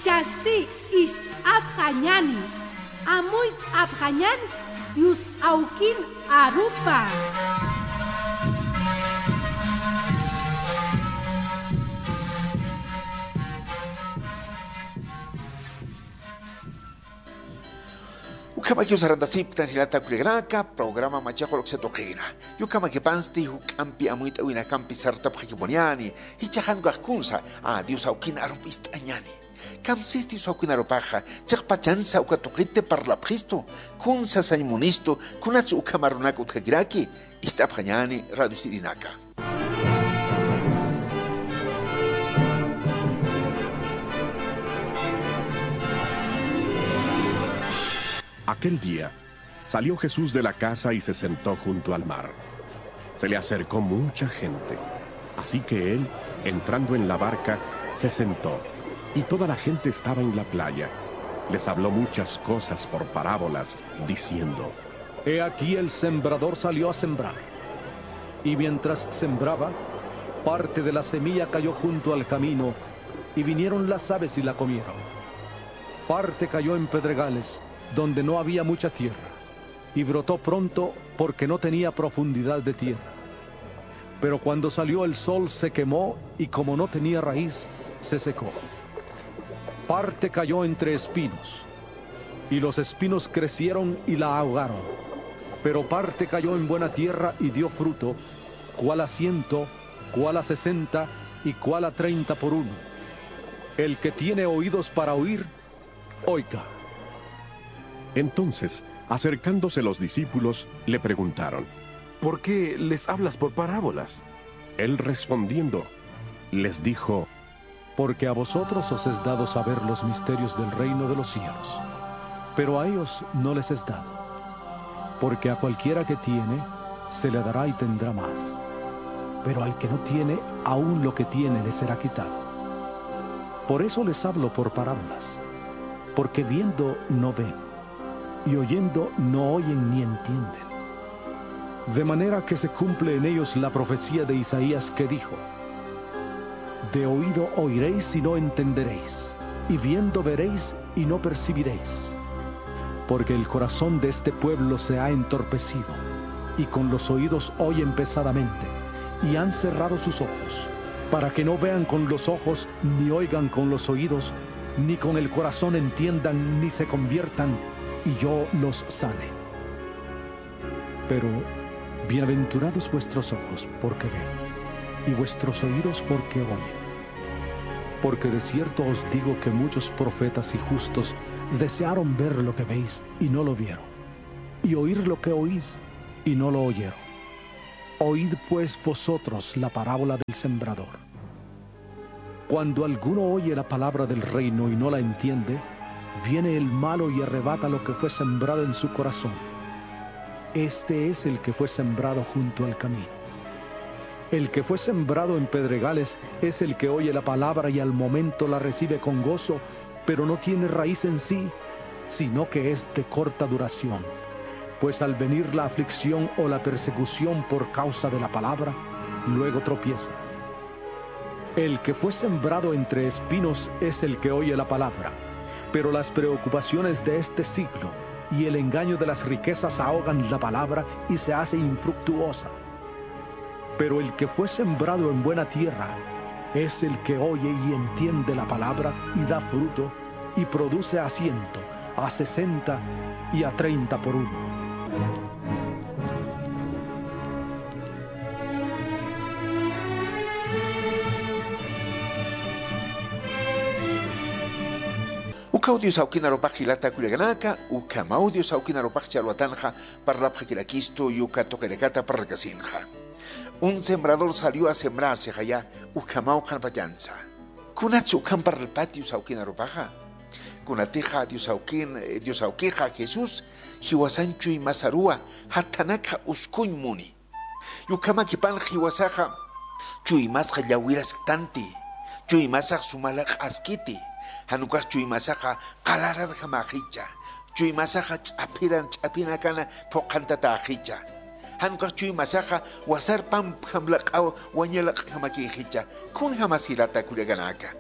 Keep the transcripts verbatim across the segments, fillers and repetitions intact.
Chasti ist'apxañani, amuyt'apxañan Dios awkin arupa. Ukhamaki sarantasipan jilata kullakanaka, programa Machaq Qullqisa tuqina. Yukhamakipansti juk'ampi amuyt'awinakampi sartapxakipuniñani, jichhax jan ukax kunsa, a, Dios awkin arup ist'añani. Kamsisti Dios awkin arupaxa, chiqpachansa uka tuqit parlapxistu, kunsa sañ munistu, kunats ukham arunak utjakiraki, ist'apxañani radio sirinaka. Aquel día salió Jesús de la casa y se sentó junto al mar. Se le acercó mucha gente, así que él, entrando en la barca, se sentó, y toda la gente estaba en la playa. Les habló muchas cosas por parábolas, diciendo: He aquí el sembrador salió a sembrar. Y mientras sembraba, parte de la semilla cayó junto al camino, y vinieron las aves y la comieron. Parte cayó en pedregales, donde no había mucha tierra, y brotó pronto porque no tenía profundidad de tierra. Pero cuando salió el sol se quemó, y como no tenía raíz, se secó. Parte cayó entre espinos, y los espinos crecieron y la ahogaron. Pero parte cayó en buena tierra y dio fruto, cuál a ciento, cuál a sesenta y cuál a treinta por uno. El que tiene oídos para oír, oiga. Entonces, acercándose los discípulos, le preguntaron: ¿Por qué les hablas por parábolas? Él respondiendo, les dijo: Porque a vosotros os es dado saber los misterios del reino de los cielos, pero a ellos no les es dado. Porque a cualquiera que tiene, se le dará y tendrá más, pero al que no tiene, aun lo que tiene le será quitado. Por eso les hablo por parábolas, porque viendo no ven, y oyendo no oyen ni entienden. De manera que se cumple en ellos la profecía de Isaías que dijo: De oído oiréis y no entenderéis, y viendo veréis y no percibiréis. Porque el corazón de este pueblo se ha entorpecido, y con los oídos oyen pesadamente, y han cerrado sus ojos, para que no vean con los ojos, ni oigan con los oídos, ni con el corazón entiendan, ni se conviertan, y yo los sane. Pero bienaventurados vuestros ojos, porque ven, y vuestros oídos, porque oyen. Porque de cierto os digo que muchos profetas y justos desearon ver lo que veis, y no lo vieron, y oír lo que oís, y no lo oyeron. Oíd pues vosotros la parábola del sembrador. Cuando alguno oye la palabra del reino y no la entiende, viene el malo y arrebata lo que fue sembrado en su corazón. Este es el que fue sembrado junto al camino. El que fue sembrado en pedregales es el que oye la palabra y al momento la recibe con gozo, pero no tiene raíz en sí, sino que es de corta duración. Pues al venir la aflicción o la persecución por causa de la palabra, luego tropieza. El que fue sembrado entre espinos es el que oye la palabra, pero las preocupaciones de este siglo y el engaño de las riquezas ahogan la palabra y se hace infructuosa. Pero el que fue sembrado en buena tierra es el que oye y entiende la palabra y da fruto y produce a ciento, a sesenta y a treinta por uno. Uka audio sawkina rupax jilata kullakanaka, uka audio sawkina rupax chalwatanxa, parlapxakirakistu yuka tuqirakata parlakasinxa. Un sembrador salió a sembrar sixaya, ukhamaw qhanpachansa. Kunatsa ukham parlpati sawkina rupaxa. Kunatixa Dios awkin, eh, Dios awkixa Jesús, jiwasan chuymasaruwa, jathanakxa uskuñ muni. Yukhamakipan jiwasaxa, chuymasxa llawirasktanti, chuymasax suma laq'askiti, jan ukax chuymasaxa qalararjamaxicha, chuymasaxa ch'aphiran ch'aphinakana phuqhantataxicha, jan ukax chuymasaxa wasar pampjam laq'aw waña laq'jamakïxicha, kunjamas jilata kullakanaka.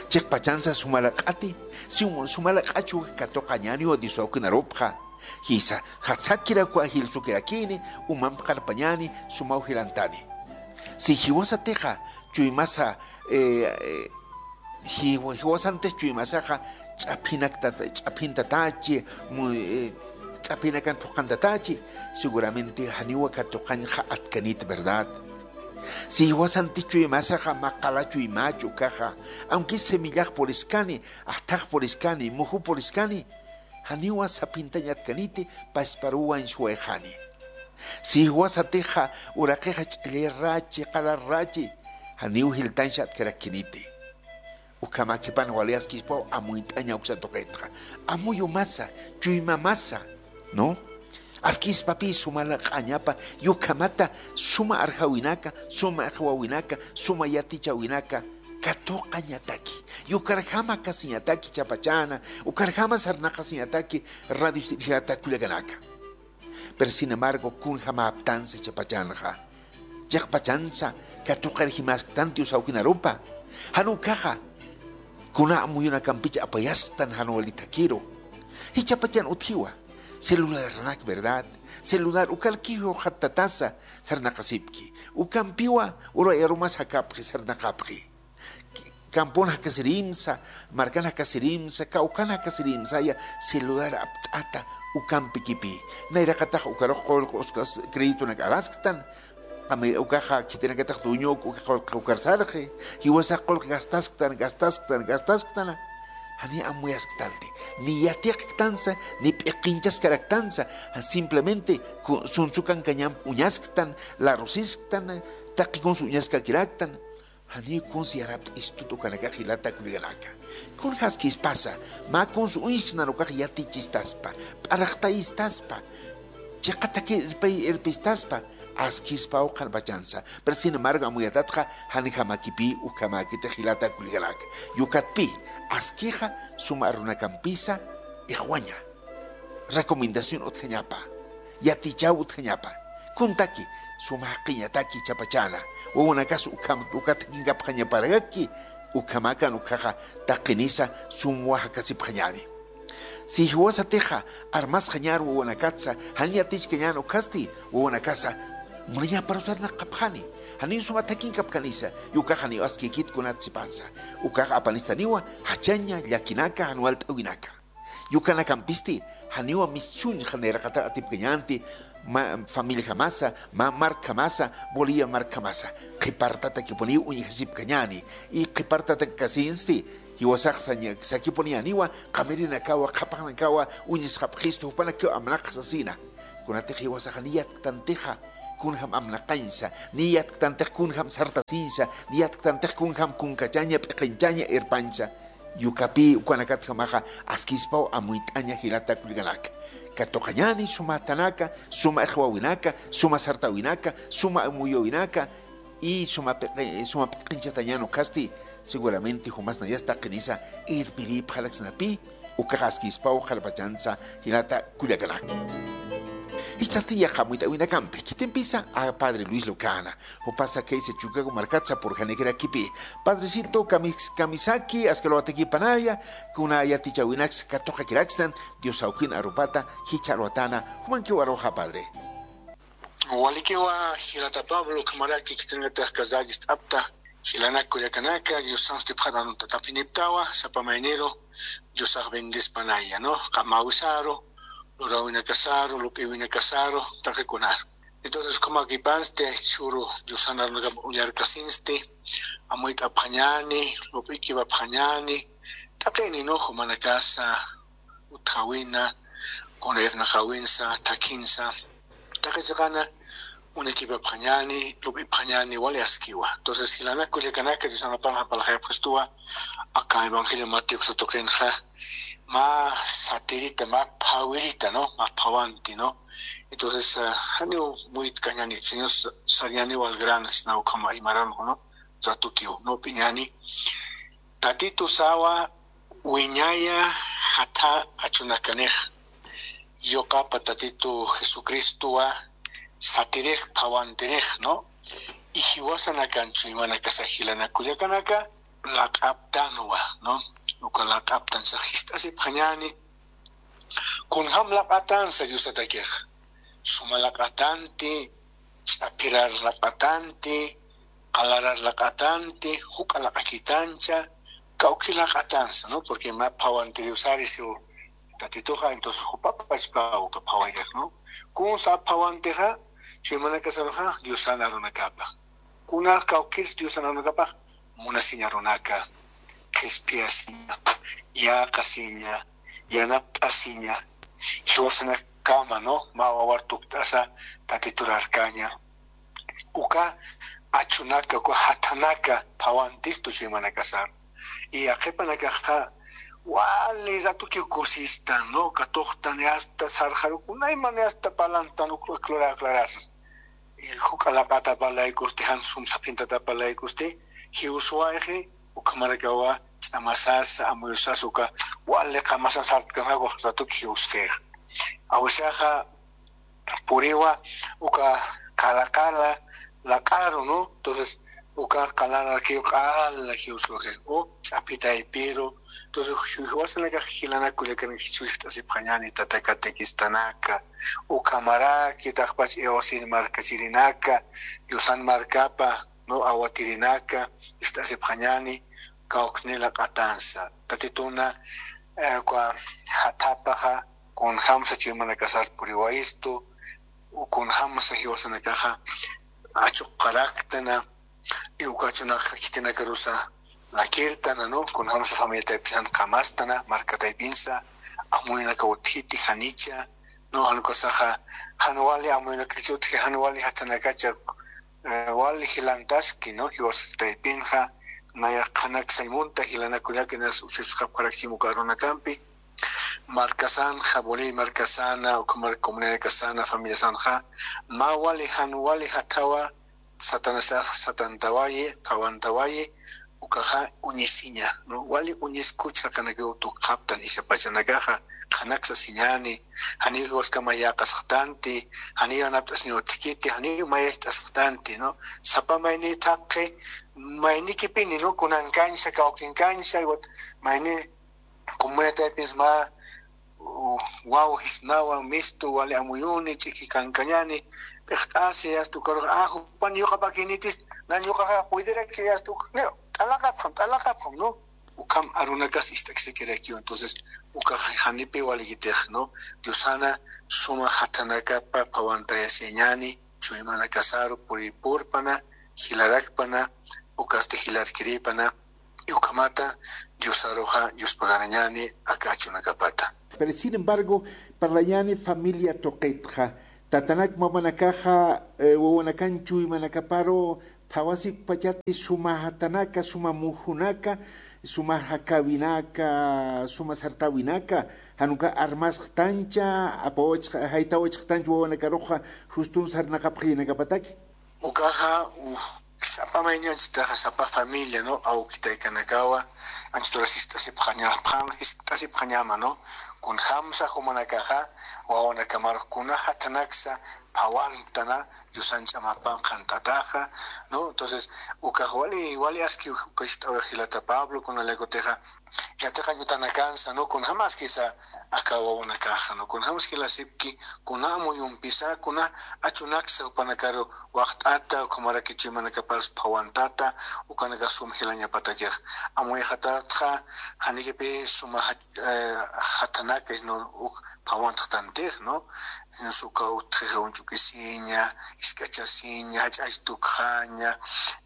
Chiqpachansa sumalaq'ati, sum-, sumalaq'achu katuqañaniwa Dios awkinarupxa. Jisa, jatsakirakwa jilsukirakini, umamp qarpañani, sumaw jilantani. Si jiwasatixa, chuymasa, eh, eh, jiwa-, jiwasantix chuymasaxa, ch'aphinak tata-, ch'aphin tatachi, mu-, eh, ch'aphinakan phuqan tatachi, seguramente janiwa katuqañxa atkanit, ¿verdad? Si jiwasantix chuymasaxa, maqala chuymach ukaxa, aunque semillax puriskani, ajthax puriskani, muju puriskani, janiwa saphintañ atkaniti, pasparuwan suwayxani. Si jiwasatixa uraqixa ch'allarrachi, qalarrachi, janiw jiltañsa atkarakiniti. Ukhamakipan wali askispaw amuyt'aña uksa tuqitxa. Amuyumasa, chuymamasa, ¿no? Askispapï suma laq'añapa, ukhamata suma arjawinaka, suma iqwawinaka, suma yatichawinaka, katuqañataki, ukarjama kasiñataki chapachana, ukarjama sarnaqasiñataki radio sirjirata kullakanaka. Pero sin embargo, kunjamäptansa chapachanxa. Chiqpachansa katuqir jimasktan Dios awkinarupa. Jan ukaxa, kuna amuyunakampicha apayasktan jan wali thakiru. Jichhapachan utjiwa. Celularnak, ¿verdad? Celular ukarkiw jattatasa sarnaqasipki. Ukampiwa uru arumas jakapxi, sarnaqapxi. Campon jakasirimsa, markan jakasirimsa, kawkan jakasirimsaya, celular apt'ata ukampikipï. Nayraqatax ukarux qullq uskas créditonak arasktan, ami-, ukaxa khitinakatax dueño uk-, uka qullq ukar sarxi, jiwasax qullq gastasktan, gastasktan, gastasktan, jani amuyasktanti. Ni yatiqktansa, ni p'iqinchaskaraktansa, simplemente ku-, sunsukankañamp uñasktan, larusisktan, taqi kunsa uñaskakiraktan, janiw kunsa yanapt'istut ukanakax jilata kullakanaka. Kunja askispasa, mä kunsa uñsksnan ukax yatichïstaspa, p'arxtayistaspa, chiqatakir irpi-, irpistaspa, askispaw qharpachansa. Pero sin embargo, amuyatatxa, janjamäkipï ukhamäkiti jilata kullakanaka. Ukatpï, askixa, suma arunakampisa, iqwaña. Recomendación utjañapa, yatichaw utjañapa. Kuntaki, suma jaqiñataki chapachana, wawanakas ukham-, uka thakinkapxañaparakaki, ukhamakan ukhaxa taqinisa sumwa jakasipxañani. Si jiwasatixa armasxañar wawanakatsa, jan yatichkañan ukhasti, wawanakasa munañaparusar naqapxani, janiw suma thakinkapkanisa, ukax janiw askïkit kunat sipansa, ukax apanistaniwa, jachaña, llakinaka, jan walt'äwinaka. Ukanakampisti, janiwa mistuñxa nayraqatar atipkañänti, ma-, familiajamasa, ma-, markjamasa, Bolivia markjamasa, qhipartatakipuniw uñjasipkañäni, y qhipartatakkasinsti, jiwasax saña-, sakipuniyäniwa, qamirinakawa, qhapaqnakawa, uñjasxapxistu, jupanakiw amnaqx sasina. Kunatix jiwasax niy yatktantixa, kunjam amnaqañsa, niy yatktantix kunjam sartasinsa, niy yatktantix kunjam kunkachaña, p'iqinchaña, irpañsa. Ukapï ukanakatjamaxa askispaw amuyt'aña jilata kullakanaka. Katuqañäni suma atanaka, suma iqwawinaka, suma sartawinaka, suma amuyawinaka, y suma piqi-, suma p'iqinchatañan ukhasti, seguramente jumasnayas taqinisa irpirïpxaraksnapï, ukax askispaw qharpachansa jilata kullakanaka. Jichhasti yaqha amuyt'äwinakampi, khitimpisa a Padre Luis Lucana, jupasa khaysa Chucago markatsa purxanikirakipi. Padrecito, kamis-, kamisaki, aski alwatakipanaya, kuna yatichäwinaksa katuqakirakstan, Dios awkin arupata, jichha alwatana, jumankiw aruxa, Padre. Walikiwa, jilata Pablo, ukhamaraki khitinakatix kazagist'apta, jilanak kullakanaka, Diosan sutipxaran tatapiniptawa, sapa mayniru, Diosax bendespanaya, ¿no? Qamawisaru, luräwinakasaru, lup'iwinakasaru, taqikunaru. Entonces, ukhamäkipansti, churu Diosan arunakap ullarkasinsti, amuyt'apxañäni, lup'ikipapxañäni, taqini, ¿no? Jumanakasa, utjawina, kuna irnaqäwinsa, thakinsa, taqi chiqana, uñakipapxañäni, lup'ipxañäni, wali askiwa. Entonces, jilanak kullakanaka, Diosan arunakax parlxayapxistuwa, aka Evangelio Mateo uksa tuqinxa, mä satirita, mä phawirita, ¿no? Mä phawanti, ¿no? Entonces, ah, janiw muytkañäni, Señor sa-, sarñäniwa al grano, sina ukhama imaranx, ¿no? Ratukiw, ¿no? Lup'iñäni. Tatitusawa wiñaya jatha achunakanixa. Yuqapa Tatitu Jesucristowa satirix, phawantirix, ¿no? Y jiwasanakan chuymanakasa jilanak kullakanaka, laq'aptanwa, ¿no? Uka laq'aptansa jist'asipxañäni. Kunjam laq'atansa Diosatakix. Suma laq'atanti, ch'apirar laq'atanti, qalarar laq'atanti, juk'a laq'akitancha, kawki laq'atansa, ¿no? Porque mä phawanti Diosari siw Tatituxa, entonces jupapachpa uka phawaykax, ¿no? Kunsa phawantixa, chuymanakasaruxa, Diosan arunakapa. Kunax kawkis Diosan arunakapax, munasiñ arunaka, qhispiyasiña, yäqasiña, yanapt'asiña, jiwasanakama, ¿no? Mä wawar tukt'asa Tatiturarkaña. Uka achunaka, uka jathanaka, phawantistu chuymanakasar. Y yaqhipanakaxa, wali ratukiw kusistan, ¿no? Katuxtan, hasta sarxarukunayman, hasta parlantan, uk aclara-, aclarasas. Y juk'a laq'atapa laykusti, jan sum saphintatapa laykusti, jiwswayxi, ukhamarakawa ch'amasasa, amuyusasa, uka wali qamasa sartkanxa, wali ratuki jiwsxixa. Awisaxa puriwa, uka qala qala laq'aru, ¿no? Entonces, uka qalararakiw qala jiwswayxi, o ch'api taypiru. Entonces, jiwasanakax jilanak kullakan Jesucristo jist'asipxañäni, tata catequistanaka, ukhamaraki taqpach iwsin markachirinaka, Diosan markapa, ¿no? Awatirinaka, jist'asipxañäni, kawkni laq'atansa. Tatituna, eh, uka jathapaxa, kunjamsa chuymanakasar puriwayistu, o kunjamsa jiwasanakaxa achuqaraktana, y uka achunak khitinakarusa lakirtana, ¿no? Kunjamsa familia taypisan qamastana, marka taypinsa, amuyunaka utjiti janicha, ¿no? Jan ukasaxa, jan wali amuyunakach utji, jan wali jathanakacha, eh, wali jilantaski, ¿no? Jiwas taypinxa, nayax qhanaksa munta, jilanakullaki nas ususxapxarakchim uka arunakampi, markasanxa, Bolivia markasana, ukhamar comunidadkasana, familiasanxa, mä wali jan wali jathawa, Satanasax satantawayi, phawantawayi, ukaxa uñisiña, ¿no? Wali uñiskuch jaqinakiw tukxaptan, isapachanakaxa, qhanaksasiñäni, janiw jiwaskama yäqasxtanti, janiw yanapt'asiñ utjkiti, janiw mayacht'asxtanti, ¿no? Sapa mayni thaqhi, maynikipini, ¿no? Kunankañsa, kawkinkañsa, iwat mayni comunidad taypins mä, u, waw jisnawa, mistu, wali amuyuni, ch'iki kankañäni, p'iqt'asi, hasta ukarux, ah, jupan yuqapakinitis, nan yuqaxa puediraki, hasta uk-, no, t'alaqapxam, t'alaqapxam, ¿no? Ukham arunakas ist'aksakirakiw. Entonces, ukax janipi walikitix, ¿no? Diosana suma jathanakapa phawantayasiñäni, chuymanakasaru puripurpana, jilarakpana, ukasti jilarkiripana, y ukhamata Diosaruxa yuspagarañäni aka achunakapata. Pero sin embargo, parlañäni familia tuqitxa, tatanak mamanakaxa, eh, wawanakan chuymanakaparu phawasipachati suma jatanaka, suma mujunaka, suma jakäwinaka, suma sartäwinaka, jan uka armasxtancha, apawachx-, jaytawachxtancha wawanakaruxa, justun sarnaqapxañanakapataki. Ukaxa, u, sapa mayniw anchhitaxa, sapa familia, ¿no? Awki taykanakawa, anchhit uras jist'asipxaña-, phan jist'asipxañama, ¿no? Kunjamsa jumanakaxa, wawanakamarux kuna jathanaksa phawantana, Diosan ch'amapan qhant'ataxa, ¿no? Entonces, ukax wali, wali aski uka jist'awi jilata Pablo, kuna laykutixa, yatiqañ utanakansa, ¿no? Kunjamaskisa aka wawanakaxa, ¿no? Kunjamas jilasipki, kuna amuyumpisa, kuna achunaksa jupanakaru waxt'ata, ukhamaraki chuymanakaparus phawantata, ukanakax sum jilañapatakix. Amuyxatatxa, janikipi suma jat-, eh, jathanaka, ¿no? Uk phawantxtantix, ¿no? Jins uka utjixa uñch'ukisiña, jisk'achasiña, jach'ach tukxaña,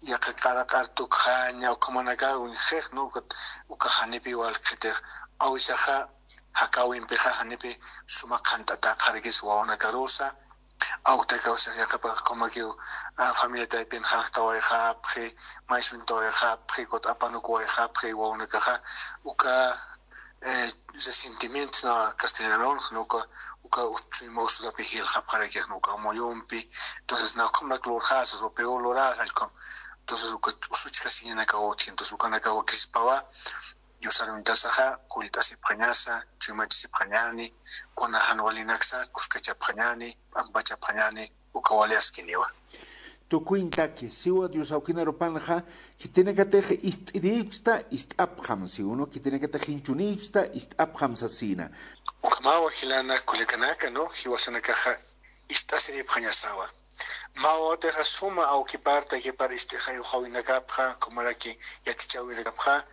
yaqha q'araq'ar tukxaña, ukhamanaka uñjix, ¿no? Uka, uka janipi walqhitix. Awisaxa, jakäwimpixa, janipi suma qhant'atäxarakis wawanakarusa, awktaka, o sea, yaqhipax ukhamakiw, ah, familia taypin jarktawayxapxi, maysuñtawayxapxi, kut apanukuwayxapxi, wawanakaxa, uka, eh, resentimientos na castellanarunx, ¿no? Uka, uka us-, chuyma usurapi jilxapxarakix, ¿no? Uka amuyumpi. Entonces, na ukhamarak lurxasas, o peor luräxa, ukham. Entonces, uka usuchkasiñanakaw utji. Entonces, ukanakaw wakispawa, Diosar uñtasaxa, kullt'asipxañasa, chuymachasipxañäni, kuna jan walinaksa, kuskachapxañäni, p'ampachapxañäni, uka wali askiniwa. Tukuñ taki, siwa Dios awkinarupanxa, khitinakatix ist'iripxsta, ist'apxam siwnu, khitinakatix jinchunipxsta, ist'apxam sasina. Ukhamawa jilana kullakanaka, ¿no? Jiwasanakaxa ist'asiripxañasawa. Mä wawatixa suma awkipar, taykipar ist'ixa uxawinakapxa, kumaraki yatichäwinakapxa,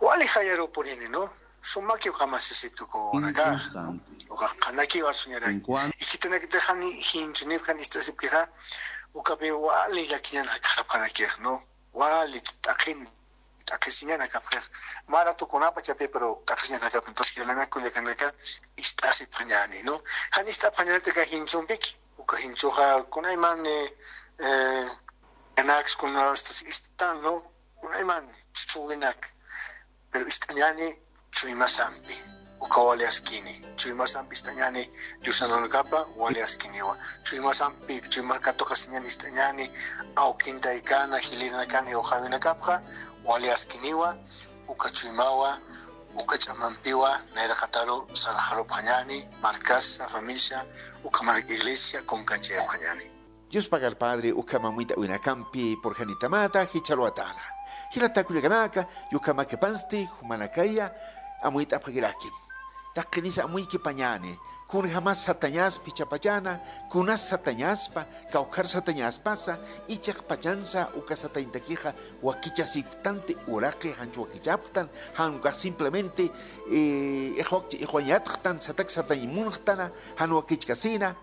wali jayaruw purini, ¿no? Sumaki ukhama sisipki uka wawanaka. Ukax qhanakiw arsuñaraki. Ikitanakitix jani jinchunipxi, jani ist'asipkixa, ukapi wali llakiñan jakxapxarakix, ¿no? Wali t'aqhin, t'aqhisiñan jakapxix. Mä ratukunapachapï, pero t'aqhisiñan jakapxi. Entonces, jilanaka kullakanaka ist'asipxañäni, ¿no? Jan ist'apxañäni aka jinchumpiki. Uka jinchuxa kunayman, eh, eh, kanaks kunastas ist'an, ¿no? Kunayman chuchüwinak. Pero ist'añäni chuymasampi, uka wali askini. Chuymasampi ist'añäni, Diosan uñakapa wali askiniwa. Chuymasampi, chuyma katuqasiñäni ist'añäni, awkin taykana, jilïrinakana, uxawinakapxa wali askiniwa, uka chuymawa, uka ch'amampiwa, nayraqataru sarxarupxañäni, markasa, familia, uka mark iglesia, kunkanchayapxañäni. Dios pagar Padre, ukham amuyt'äwinakampi purxanitamata jichharuwatäna. Jilata kullakanaka, ukhamakapansti jumanakaya amuyt'apxakirakim. Taqinisa amuykipañäni, kunjamas satañaspa jichhapachana, kunas satañaspa, kawkhar satañaspasa, ichhaqpachansa uka satañtakixa wakichasipktanti uraqi, janch wakichapxtan, jan ukax simplemente, eh, ixwakchi ixwañ yatxtan, satak satañ munxtana, jan wakichkasina.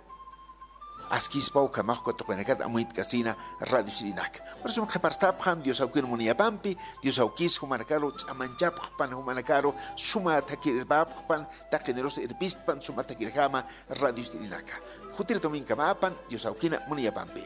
Askispa ukhamax katuqinakat amuyt'kasina radio sirinak. Por eso qhiparstapxam Dios awkin muniyapampi, Dios awkis jumanakaru ch'amanchapxpan, jumanakaru suma thakir irpapxpan, taqinirus irpistpan, suma thakirjama radio sirinaka. Jutir domingomapan Dios awkina muniyapampi.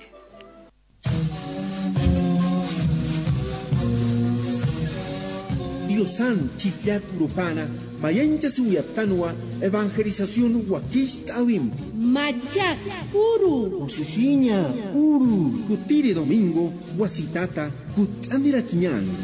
Diosan chhijllat urupana mayanchasiwayaptanwa evangelización wakicht'äwimpi. Machaq uru. Kusisiña uru. Kutiri domingo wasitata kutt'anirakiñäni.